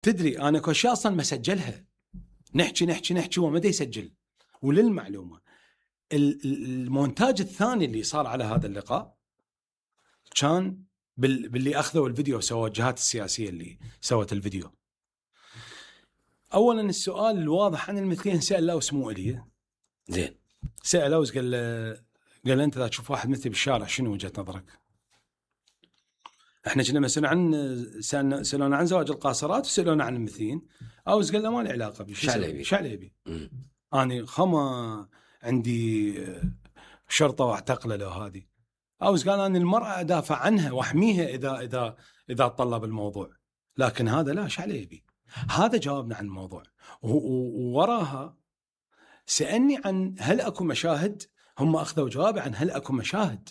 تدري انا كل شيء اصلا ما سجلها، نحكي وما دا يسجل. وللمعلومه المونتاج الثاني اللي صار على هذا اللقاء كان باللي اخذوا الفيديو وسووا الجهات السياسيه اللي سوت الفيديو. اولا السؤال الواضح عن المثليين سأله اسمه الي زين، سأله قال انت اذا تشوف واحد مثلي بالشارع شنو وجهه نظرك؟ احنا كنا مسألنا سألونا عن زواج القاصرات وسألونا عن المثليين. اوز قال له ما له علاقه بشي شعليبي. اني خما عندي شرطه واعتقله له هذه. اوز قال انا المراه ادافع عنها واحميها اذا طلب الموضوع، لكن هذا لا شعليبي. هذا جاوبنا عن الموضوع. ووراها سألني عن هل اكو مشاهد. هم اخذوا جوابي عن هل اكو مشاهد،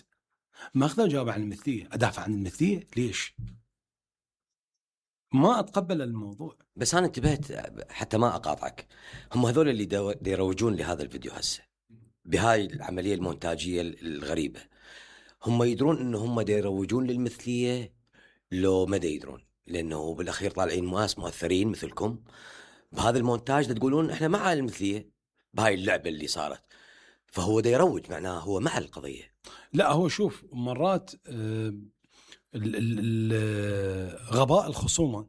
ما اخذوا جوابي عن المثليه. ادافع عن المثليه ليش؟ ما اتقبل الموضوع. بس انا انتبهت حتى ما اقاطعك، هم هذول اللي يروجون لهذا الفيديو هسه بهاي العمليه المونتاجيه الغريبه، هم يدرون انه هم يروجون للمثليه لو ما يدرون؟ لانه بالاخير طالعين ناس مؤثرين مثلكم بهذا المونتاج تقولون احنا مع المثليه بهاي اللعبه اللي صارت، فهو دا يروج معناه هو مع القضيه. لا هو شوف مرات غباء الخصومه،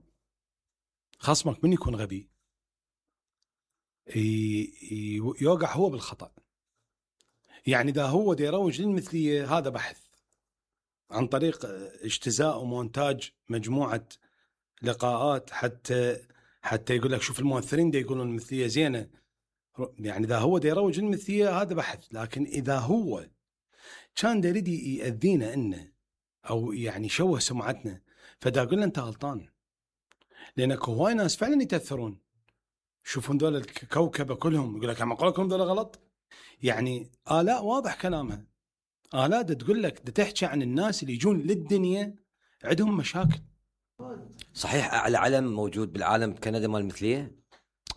خصمك من يكون غبي يوقع هو بالخطأ. يعني إذا هو دا يروج للمثلية هذا بحث عن طريق اجتزاء ومونتاج مجموعة لقاءات حتى يقول لك شوف المؤثرين دا يقولون المثلية زينة. يعني إذا هو دا يروج للمثلية هذا بحث. لكن إذا هو كان دا يريد يأذينا إنه أو يعني شوه سمعتنا فدا أقول له أنت غلطان، لأنك هواي ناس فعلا يتأثرون شوفون دول الكوكبة كلهم يقول لك عم أقول لكم دول غلط. يعني آلاء واضح كلامها، آلاء دا تقول لك دا تحكي عن الناس اللي يجون للدنيا عندهم مشاكل. صحيح أعلى علم موجود بالعالم بكندا مال المثلية.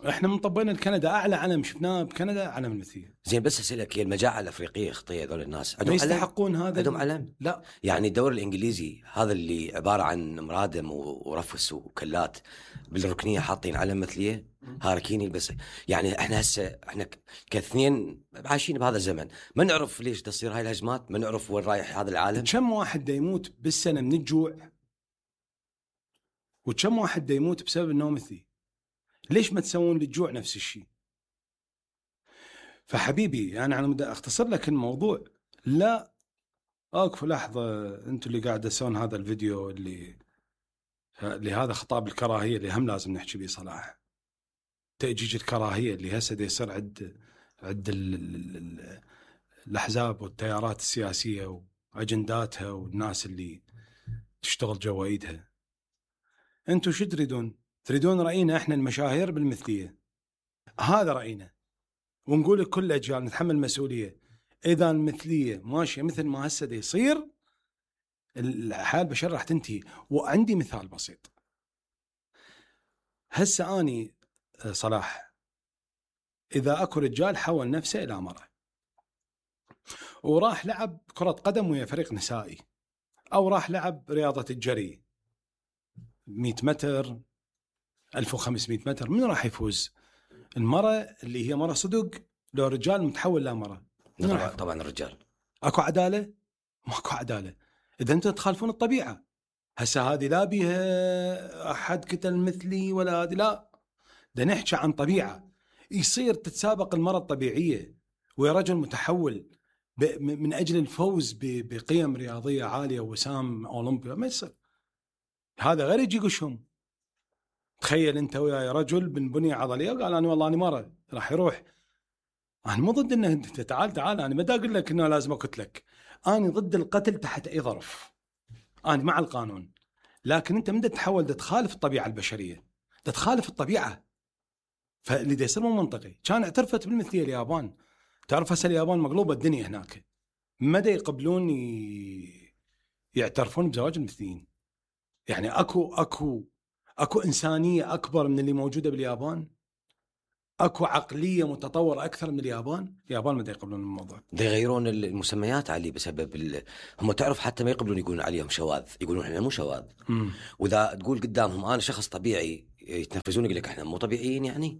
احنا مطبقين الكندا أعلى علم شفناه بكندا علم المثلية. زين بس أسألك، هي المجاعة الأفريقية خطية هذول الناس ما يستحقون هذا؟ عندهم علم؟ لا يعني الدوري الإنجليزي هذا اللي عبارة عن مرادم ورفس وكلات بالركنية حاطين علم مثلية هاركيني. بس يعني احنا هسه احنا كاثنين عايشين بهذا الزمن ما نعرف ليش تصير هاي الهجمات، ما نعرف وين رايح هذا العالم. كم واحد دا يموت بالسنة من الجوع وكم واحد دا يموت بسبب انه مثلي؟ ليش ما تسوون للجوع نفس الشيء؟ فحبيبي يعني انا بدي اختصر لك الموضوع. لا اقف لحظة، انتوا اللي قاعد تسوون هذا الفيديو اللي هذا خطاب الكراهية اللي هم لازم نحكي به صراحة. تأجيج الكراهية اللي هسه دا يصير عند الأحزاب والتيارات السياسية وأجنداتها والناس اللي تشتغل جوا ايدها. انتوا شو تريدون؟ تريدون رأينا احنا المشاهير بالمثلية؟ هذا رأينا، ونقول لكل أجيال نتحمل مسؤولية. إذا المثلية ماشية مثل ما هسه دا يصير الحياة البشرية راح تنتهي. وعندي مثال بسيط. هسه أني صلاح إذا أكو رجال حول نفسه إلى مرأة وراح لعب كرة قدم ويا فريق نسائي، أو راح لعب رياضة الجري 100 متر 1500 متر، من راح يفوز؟ المرأة اللي هي مرأة صدق لو رجال متحول لمرأة؟ طبعا الرجال. أكو عدالة؟ ماكو عدالة. إذا أنتم تخالفون الطبيعة. هسه هذه لا بيها أحد كتل مثلي ولا هذه، لا ده نحكي عن طبيعة. يصير تتسابق المرأة الطبيعية ويا رجل متحول من أجل الفوز بقيم رياضية عالية وسام أولمبيا، ما يصير. هذا غير يجي قشهم. تخيل أنت ويا رجل من بنية عضلية وقال أنا والله أنا مرة راح يروح. أنا مو ضد أنه أنت تعال أنا ما دا أقول لك أنه لازم أقتلك، أنا ضد القتل تحت أي ظرف، أنا مع القانون. لكن أنت من تتحول تخالف الطبيعة البشرية، تخالف الطبيعة. فاللي يصير مو منطقي. كان اعترفت بالمثلية اليابان، تعرف هسه اليابان مقلوبة الدنيا هناك، مدى يقبلون يعترفون بزواج المثليين. يعني اكو إنسانية أكبر من اللي موجودة باليابان؟ اكو عقلية متطورة أكثر من اليابان؟ اليابان مدى يقبلون الموضوع. دا يغيرون المسميات عليه بسبب هم تعرف حتى ما يقبلون يقولون عليهم شواذ، يقولون احنا مو شواذ. وإذا تقول قدامهم أنا شخص طبيعي يتنفسون يقول لك احنا مو طبيعيين يعني.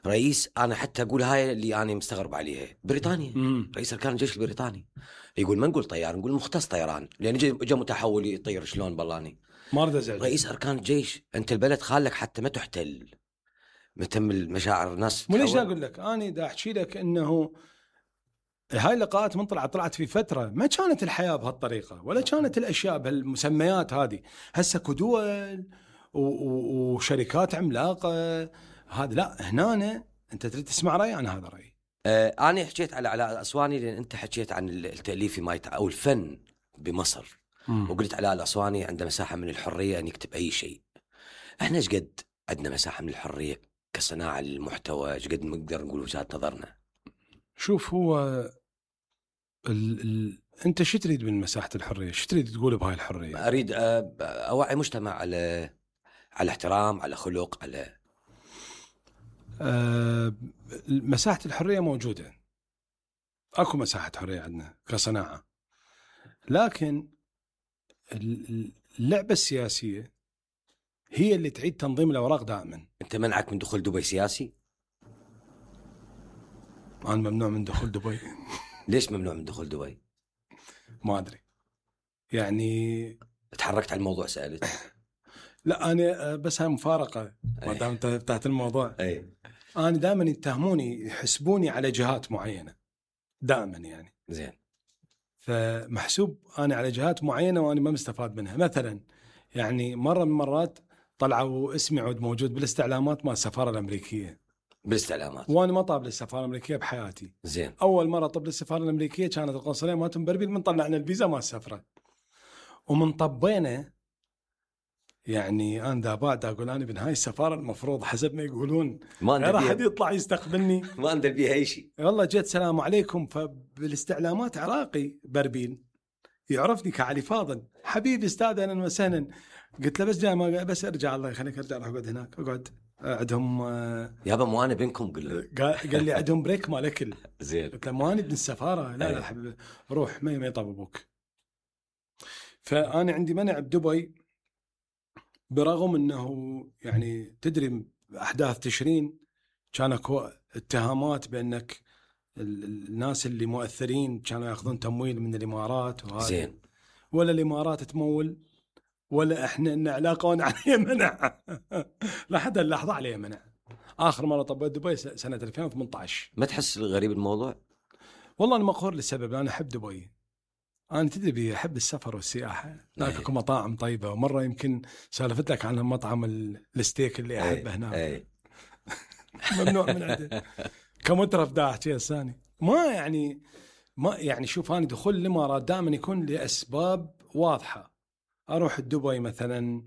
رئيس، انا حتى اقول هاي اللي انا مستغرب عليها، بريطانيا رئيس اركان الجيش البريطاني يقول ما نقول طيار، نقول مختص طيران، لان جاء متحول يطير شلون بالاني. ما اريد ازعج رئيس اركان الجيش، انت البلد خالك حتى ما تحتل، متم المشاعر الناس. مو ليش اقول لك انا دا احكي لك انه هاي اللقاءات من طلعت في فتره ما كانت الحياه بهالطريقه، ولا كانت الاشياء بهالمسميات هذه. هسه دول وشركات عملاقه، هذا لا. هنا انت تريد تسمع رايي، انا هذا رايي. انا حكيت على علاء الاسواني لان انت حكيت عن التاليف او الفن بمصر. وقلت علاء الاسواني عنده مساحه من الحريه ان يكتب اي شيء. احنا ايش قد عندنا مساحه من الحريه كصناعه للمحتوى؟ ايش قد نقدر نقول وجهه نظرنا؟ شوف، هو انت شو تريد من مساحه الحريه؟ شو تريد تقول بهاي الحريه؟ اريد اوعي مجتمع على احترام، على خلق، على مساحه الحريه موجوده، اكو مساحه حريه عندنا كصناعه، لكن اللعبه السياسيه هي اللي تعيد تنظيم الاوراق دائما. انت منعك من دخول دبي سياسي؟ انا ممنوع من دخول دبي. ليش ممنوع من دخول دبي؟ ما ادري، يعني تحركت على الموضوع، سألت. لا انا بس هاي مفارقه ما دام انت فتحت الموضوع. انا دائما يتهموني، يحسبوني على جهات معينه دائما يعني. زين. فمحسوب انا على جهات معينه وانا ما مستفاد منها. مثلا يعني مره من المرات طلعوا اسمي عود موجود بالاستعلامات مال السفاره الامريكيه. بالاستعلامات؟ وانا ما طاب للسفاره الامريكيه بحياتي. زين. اول مره طب للسفاره الامريكيه كانت القنصليه مالتهم بربيل، من طلعنا الفيزا ما السفره ومن طبينا. يعني انا دابا اقول انا من هاي السفاره المفروض حسب ما يقولون ما راح حد يطلع يستقبلني. ما اندر بيها اي شيء. والله جيت سلام عليكم، فبالاستعلامات عراقي بربيل يعرفني كعلي فاضل، حبيبي استاذ اهلا وسهلا. قلت له بس جاي ما بس ارجع، الله يخليك ارجع راح اقعد هناك. اقعد عندهم يابا مو انا بينكم. قال لي عندهم بريك مال اكل. زين. قلت له مو انا ابن السفاره. لا لا حبيبي روح، ما يطببوك. فانا عندي منع بدبي، برغم انه يعني تدري احداث تشرين كان اكو اتهامات بانك الناس اللي مؤثرين كانوا ياخذون تمويل من الامارات وهذا. زين. ولا الامارات تمول ولا احنا ان علاقه وانا عليه منع. لحد اللحظه عليه منع. اخر مره طبيت دبي سنه 2018. ما تحس غريب الموضوع؟ والله انا مقهور للسبب، انا احب دبي. انا تدري احب السفر والسياحه، هناك اكو مطاعم طيبه. ومره يمكن سالفت لك عن مطعم الستيك اللي احبه هناك. ممنوع من عنده كمترف دا احكي الثاني. ما يعني شوف، انا دخول الامارات دائما يكون لاسباب واضحه. اروح دبي مثلا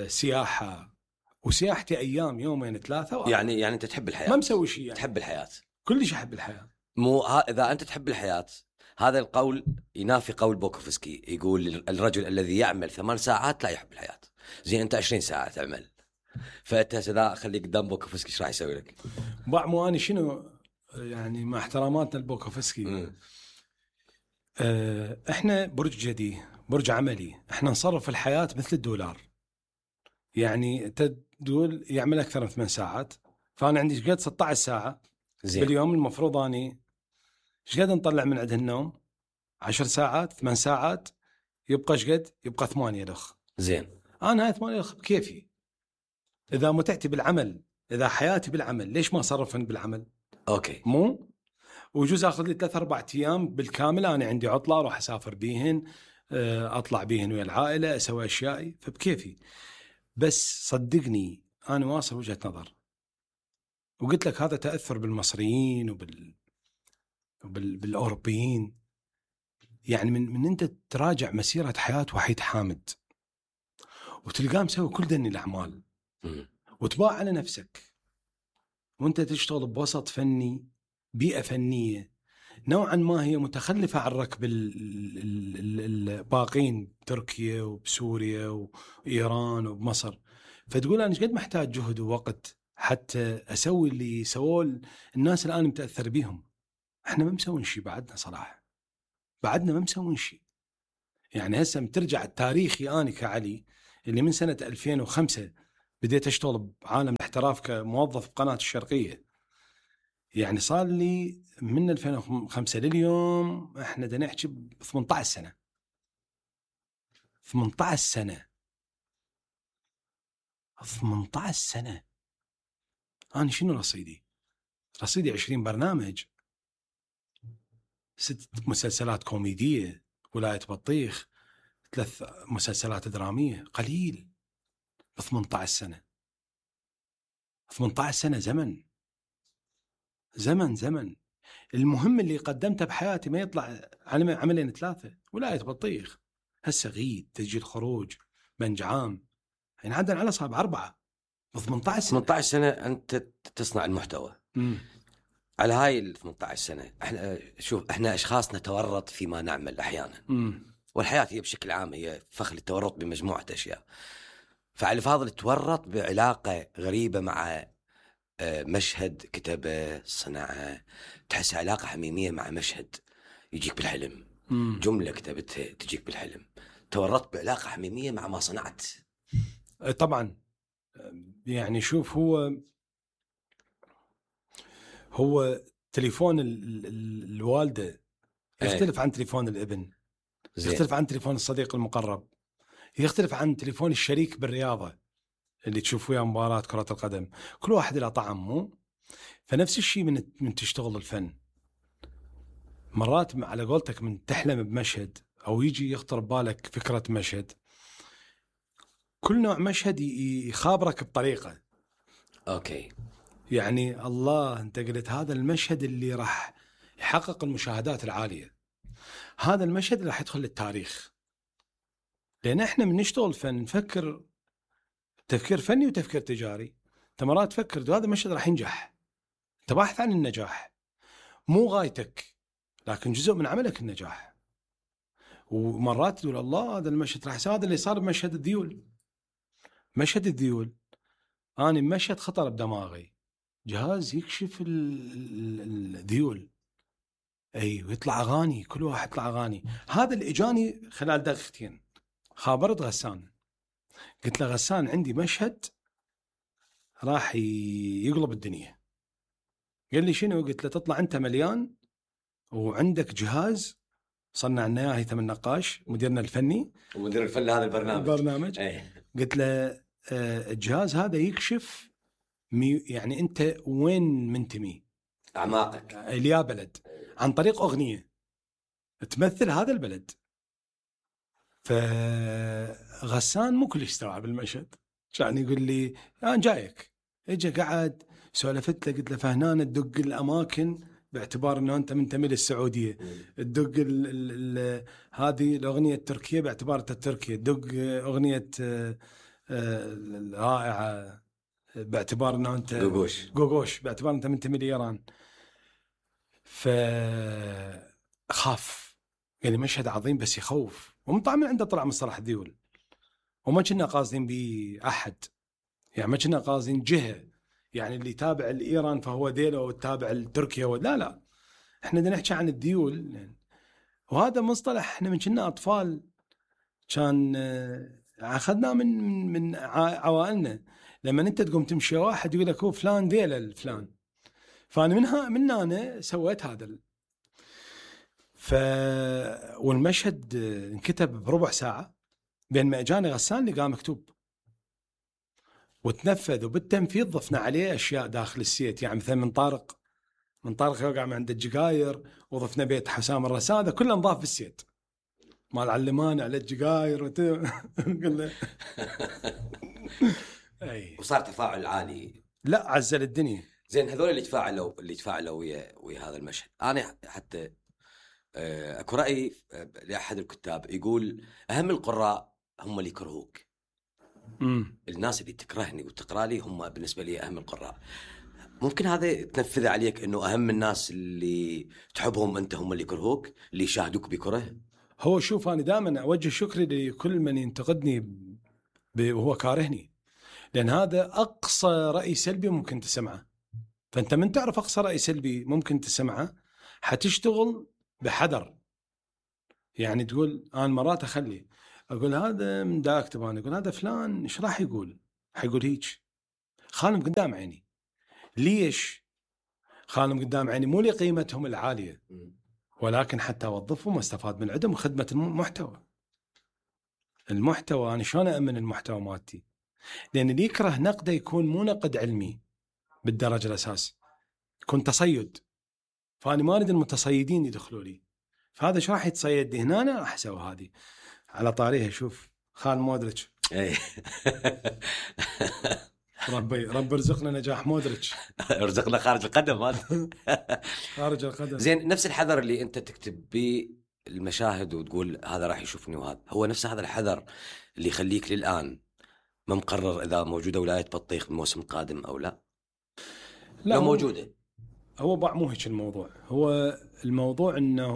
سياحه، وسياحتي ايام يومين ثلاثه. يعني انت تحب الحياه؟ ما مسوي شيء يعني. تحب الحياه كلش احب الحياه. مو اذا انت تحب الحياه، هذا القول ينافي قول بوكوفسكي، يقول الرجل الذي يعمل 8 ساعات لا يحب الحياه. زين انت 20 ساعه تعمل، فانت اذا خليك قدام بوكوفسكي ايش راح يسوي لك؟ مو انا شنو يعني، مع احتراماتنا لبوكوفسكي، احنا برج جدي، برج عملي. احنا نصرف الحياه مثل الدولار. يعني انت تقول يعمل اكثر من 8 ساعات، فانا عندي قد 16 ساعه. زين. باليوم المفروض اني ايش قد نطلع من عند النوم؟ 10 ساعات 8 ساعات، يبقى ايش قد؟ يبقى 8 لخ. زين. انا هاي 8 لخ بكيفي. اذا متعتي بالعمل، اذا حياتي بالعمل، ليش ما اصرفن بالعمل؟ اوكي. مو وجوز اخذ لي 3-4 ايام بالكامل انا عندي عطله اروح اسافر بيهن، اطلع بيهن ويا العائله، اسوي اشيائي فبكيفي. بس صدقني انا واصل وجهه نظر، وقلت لك هذا تاثر بالمصريين بالاوروبيين. يعني من انت تراجع مسيره حياه وحيد حامد وتلقاه مسوي كل دني الاعمال وتباع على نفسك، وانت تشتغل بوسط فني، بيئه فنيه نوعا ما هي متخلفه عن ركب الباقين، تركيا وبسوريا وايران وبمصر. فتقول انا ايش قد محتاج جهد ووقت حتى اسوي اللي سووه الناس الان متاثر بيهم. احنا ما مسوين شيء بعدنا صراحه، بعدنا ما مسوين شيء. يعني هسه مترجع التاريخي انا كعلي اللي من سنه 2005 بديت اشتغل بعالم الاحتراف كموظف بقناة الشرقية. يعني صار لي من 2005 لليوم احنا دا نحكي ب 18 سنة. 18 سنة 18 سنة. أنا شنو رصيدي؟ رصيدي 20 برنامج، 6 مسلسلات كوميدية، ولاية بطيخ، 3 مسلسلات درامية. قليل ب 18 سنة. 18 سنة زمن زمن. المهم اللي قدمته بحياتي ما يطلع عملين 3. ولاية بطيخ، هسه غيد، تسجيل خروج، بنج عام، يعني عدنا على صعب 4 ب 18 سنة. 18 سنة أنت تصنع المحتوى. على هاي ال 18 سنة احنا أشخاص نتورط فيما نعمل أحيانا. والحياة هي بشكل عام هي فخ التورط بمجموعة أشياء. فعلي فاضل تورط بعلاقة غريبة مع مشهد كتبه صنعه، تحس علاقة حميمية مع مشهد يجيك بالحلم. جملة كتبتها تجيك بالحلم. تورطت بعلاقة حميمية مع ما صنعت. طبعا يعني شوف، هو تليفون الوالدة يختلف عن تليفون الابن، يختلف عن تليفون الصديق المقرب، يختلف عن تليفون الشريك بالرياضة اللي تشوف وياه مباراة كرة القدم. كل واحد له طعم. مو فنفس الشيء من تشتغل الفن. مرات على قولتك من تحلم بمشهد أو يجي يخطر ببالك فكرة مشهد، كل نوع مشهد يخابرك بطريقة. أوكي. يعني الله أنت قلت هذا المشهد اللي راح يحقق المشاهدات العالية، هذا المشهد اللي راح يدخل للتاريخ. لأن إحنا من نشتغل فن نفكر تفكير فني وتفكير تجاري. أنت مرات تفكر هذا المشهد راح ينجح، أنت باحث عن النجاح، مو غايتك لكن جزء من عملك النجاح. ومرات تقول الله هذا المشهد راح يصير. هذا اللي صار بمشهد الذيول. مشهد الذيول أنا مشهد خطر بدماغي، جهاز يكشف الذيول، أي ويطلع أغاني، كل واحد يطلع أغاني. هذا اللي إجاني خلال دقيقتين. خابرت غسان، قلت له غسان عندي مشهد راح يقلب الدنيا. قال لي شنو؟ قلت له تطلع أنت مليان وعندك جهاز صنع لنا اياه هيثم النقاش مديرنا الفني ومدير الفن هذا البرنامج. قلت له الجهاز هذا يكشف يعني أنت وين منتمي، أعماقك، اليا بلد، عن طريق أغنية تمثل هذا البلد. فغسان مو كل استوعب المشهد، كان يقول لي أنا جايك. اجى قعد سولفت له، قلت له فهنا تدق الأماكن باعتبار أنه أنت منتمي للسعودية، تدق هذه الأغنية التركية باعتبار أنت تركيا، تدق أغنية رائعة باعتبار أنه أنت غوغوش باعتبار أنت منتمي لإيران. فخاف، يعني مشهد عظيم بس يخوف. ومطلع من عنده طلع مصطلح الذيول، وما كنا قاصدين بأحد، يعني ما كنا قاصدين جهة، يعني اللي تابع لإيران فهو ذيله والتابع لتركيا لا احنا بدنا نحكي عن الذيول. وهذا مصطلح احنا من كنا أطفال كان أخذناه من عوائلنا. لما أنت تقوم تمشي واحد يقول لك هو فلان ذيله الفلان، فأنا من أنا سويت هذا. والمشهد انكتب بربع ساعة، بين ما اجاني غسان لقاه مكتوب وتنفذ. وبالتنفيذ ضفنا عليه أشياء داخل السيت، يعني مثلا من طارق يوقع من عند الجقاير، وضفنا بيت حسام الرسام، هذا كله نضاف في السيت مال علمان على الجقاير قلنا أي. وصار تفاعل عالي، لا عزل الدنيا. زين هذول اللي تفاعلوا ويا هذا المشهد. أنا حتى أكو رأي لأحد الكتاب يقول أهم القراء هم اللي يكرهوك. الناس اللي تكرهني وتقرأ لي هم بالنسبة لي أهم القراء. ممكن هذا تنفذ عليك إنه أهم الناس اللي تحبهم أنت هم اللي يكرهوك، اللي يشاهدوك بكره؟ هو شوف، أنا دائما أوجه شكري لكل من ينتقدني وهو كارهني، لأن هذا أقصى رأي سلبي ممكن تسمعه. فأنت من تعرف أقصى رأي سلبي ممكن تسمعه حتشتغل بحذر. يعني تقول أنا مرات أقول هذا من دا أكتب، أنا أقول هذا فلان إيش راح يقول، حيقول هيك خانم قدام عيني. ليش خانم قدام عيني؟ مو لقيمتهم العالية، ولكن حتى أوظفهم واستفاد من عندهم خدمة المحتوى. أنا شلون أأمن المحتوى مالتي؟ لأن اللي يكره نقده يكون مو نقد علمي بالدرجة الأساس، يكون تصيد. فأنا ما أريد المتصيدين يدخلوا لي. فهذا شو راح يتصيد لي هنا؟ أنا راح أسوي هذه على طاريها. شوف خان مودريتش رب ارزقنا نجاح مودريتش. ارزقنا خارج القدم خارج القدم. زين، نفس الحذر اللي انت تكتب به المشاهد وتقول هذا راح يشوفني، وهذا هو نفس هذا الحذر اللي يخليك للآن ما مقرر إذا موجودة ولاية بطيخ الموسم القادم أو لا. لو موجودة. هو مو هيك الموضوع. هو الموضوع انه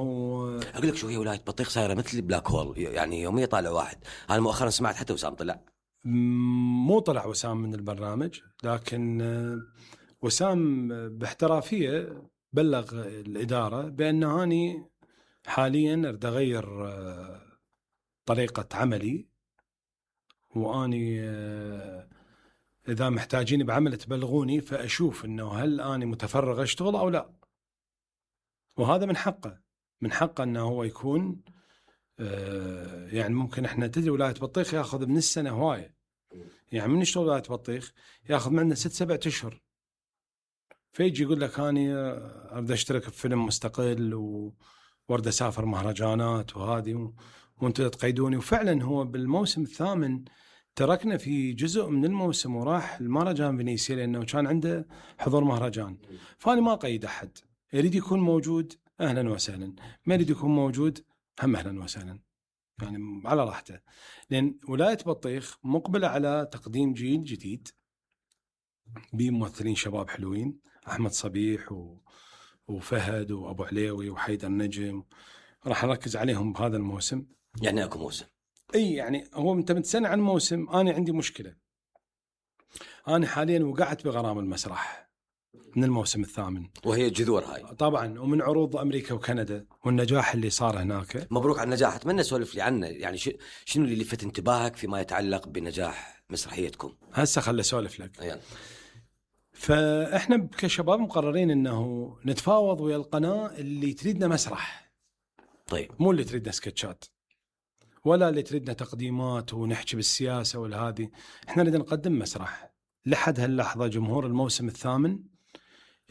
اقول لك شو هي ولاية بطيخ صايره مثل بلاك هول، يعني يوميا طالع واحد. انا مؤخرا سمعت حتى وسام طلع. مو طلع وسام من البرنامج، لكن وسام باحترافية بلغ الإدارة بأنه أنا حاليا أريد أغير طريقة عملي، وأني إذا محتاجين بعمل تبلغوني فأشوف أنه هل أنا متفرغ أشتغل أو لا. وهذا من حقه أنه هو يكون يعني ممكن إحنا تدري ولاية بطيخ يأخذ من السنة هواية. يعني من يشتغل ولاية بطيخ يأخذ معنا 6-7 أشهر، فيجي يقول لك أنا أريد أشترك بفيلم مستقل وارد أسافر مهرجانات وهذه وانتوا تقيدوني. وفعلا هو بالموسم الثامن تركنا في جزء من الموسم وراح المهرجان فينيسيا لأنه كان عنده حضور مهرجان. فأنا ما قيد أحد، يريد يكون موجود أهلا وسهلا، ما يريد يكون موجود هم أهلا وسهلا، يعني على راحته. لأن ولاية بطيخ مقبلة على تقديم جيل جديد بممثلين شباب حلوين، أحمد صبيح وفهد وأبو عليوي وحيدر نجم، راح نركز عليهم بهذا الموسم. يعني أكو موسم. اي يعني هو انت متسنى عن موسم. انا عندي مشكله، انا حاليا وقعت بغرام المسرح من الموسم الثامن، وهي الجذور هاي طبعا، ومن عروض امريكا وكندا والنجاح اللي صار هناك. مبروك على النجاح. اتمنى سولف لي عنه، يعني شنو اللي لفت انتباهك فيما يتعلق بنجاح مسرحيتكم؟ هسه خل اسولف لك. يعني. فاحنا كشباب مقررين انه نتفاوض ويا القناه اللي تريدنا مسرح. طيب، مو اللي تريدنا سكتشات ولا اللي تريدنا تقديمات ونحكي بالسياسة ولا هذه. احنا نريد نقدم مسرح. لحد هاللحظة جمهور الموسم الثامن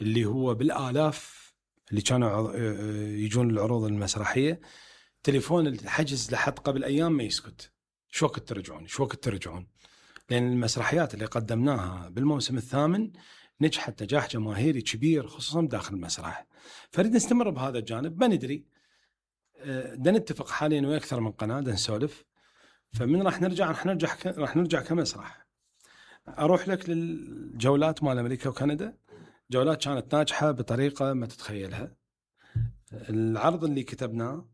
اللي هو بالآلاف اللي كانوا يجون العروض المسرحية، تليفون الحجز لحد قبل أيام ما يسكت، شو وقت ترجعون. لأن المسرحيات اللي قدمناها بالموسم الثامن نجحت نجاح جماهيري كبير خصوصا داخل المسرح. فريد نستمر بهذا الجانب. ما ندري دا نتفق حاليا ويا أكثر من قناة دا نسولف. فمن راح نرجع كمسرح. أروح لك للجولات مال أمريكا وكندا. جولات كانت ناجحة بطريقة ما تتخيلها. العرض اللي كتبناه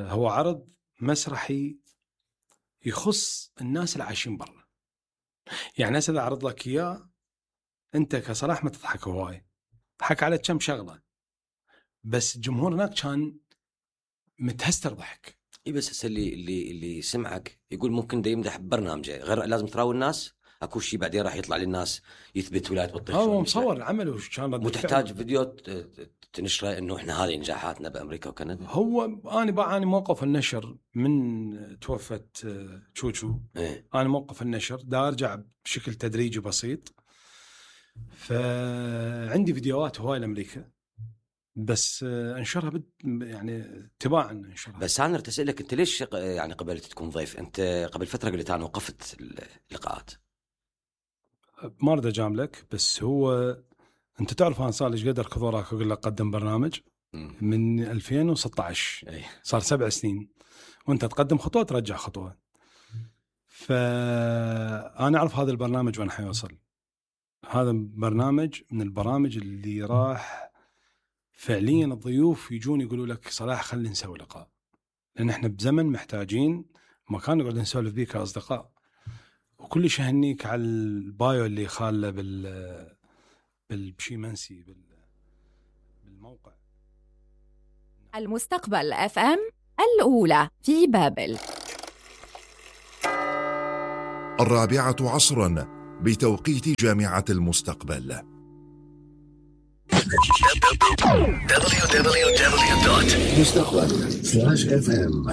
هو عرض مسرحي يخص الناس اللي عايشين برا. يعني هسه أعرض لك إياه أنت كصلاح ما تضحك هواي، ضحك على كم شغلة، بس الجمهور هناك كان متهستر ضحك. اي بس هسه اللي سمعك يقول ممكن دا يمدح ببرنامجه، غير لازم تراوي الناس. اكو شيء بعدين راح يطلع للناس يثبت ولاية بطيخ. هو مصور العمل وش كان مو تحتاج فيديو تنشره انه احنا هذه نجاحاتنا بامريكا وكندا. هو انا موقف النشر من توفت تشوتشو. انا موقف النشر دا ارجع بشكل تدريجي بسيط. فعندي فيديوهات هواي لامريكا بس انشرها يعني تباعا انشرها. بس انا ارتسل لك انت ليش يعني قبلت تكون ضيف؟ انت قبل فتره قلت انا وقفت اللقاءات. ما اريد اجاملك، بس هو انت تعرف انا صار لي ايش قدر كثوراك اقول لك قدم برنامج من 2016. صار 7 سنين وانت تقدم خطوه ترجع خطوه. فانا اعرف هذا البرنامج وين حيوصل. هذا برنامج من البرامج اللي راح فعليا الضيوف يجون يقولوا لك صلاح خلينا نسوي لقاء، لان احنا بزمن محتاجين مكان نقعد نسولف بيه كاصدقاء. وكل شيء هنيك على البايو اللي خاله بالشي منسي بالموقع. المستقبل FM الأولى في بابل. 4 عصرا بتوقيت جامعة المستقبل. www.mustaqbal.fm